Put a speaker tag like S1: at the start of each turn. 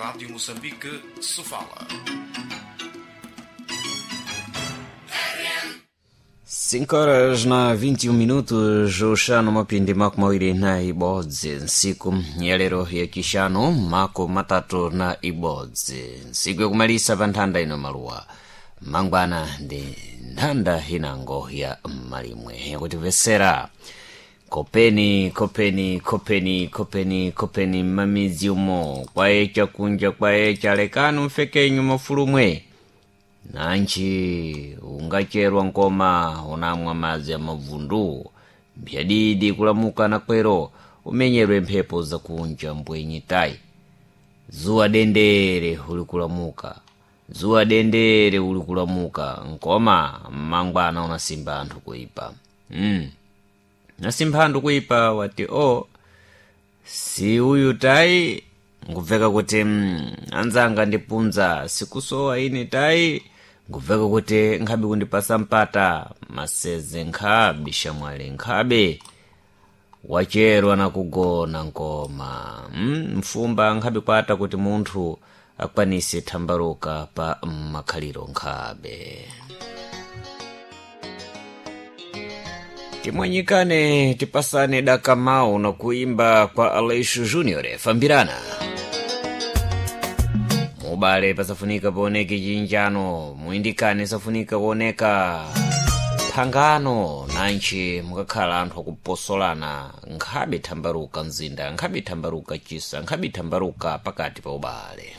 S1: Rádio Moçambique, Sofala.
S2: 5 horas na 21 minutos, uxano mapindi 21 ntsiku ya lero yacixanu 31, ntsiku yakumalisa pa nthanda ino maluwa mangwana ndi nthanda inango ya malimwe yakutimvesera. Kopeni, kopeni, kopeni, kopeni, kopeni mmamidzi umo kwayeca kunja kwayeca, lekani mfekenyu mafulumwe nanchi ungacherwa nkoma unamwa madzi amavundu mphyadidi kulamuka nakwero umenyerwe mphepo zakunja mbwenyi tayi. Zuwa dendere ulikulamuka, zuwa dendere ulikulamuka nkoma mmangwana unasimba anthu kuipa. Nasimba anthu kuipa wati o si uyu tayi, ngubveka kuti anzanga ndipunza sikusowa ine tayi, ngubveka kuti nkhabe kundipasa mpata maseze nkhabe shamwali nkhabe wacherwa nakugona nkoma. Mfumba nkhabe kwata kuti munthu akwanise thambaluka pa makhaliro nkhabe. Timwanyikane, tipasane dakamau na kuimba kwa Aleixo Junior fambirana mubale pasafunika paoneke chinjano, muindikane safunika kuoneka phangano, nanchi mukakhala anthu akuposolana nkhabe thambaluka mzinda, nkhabe thambaluka chisa, nkhabe thambaluka pakati pa ubale.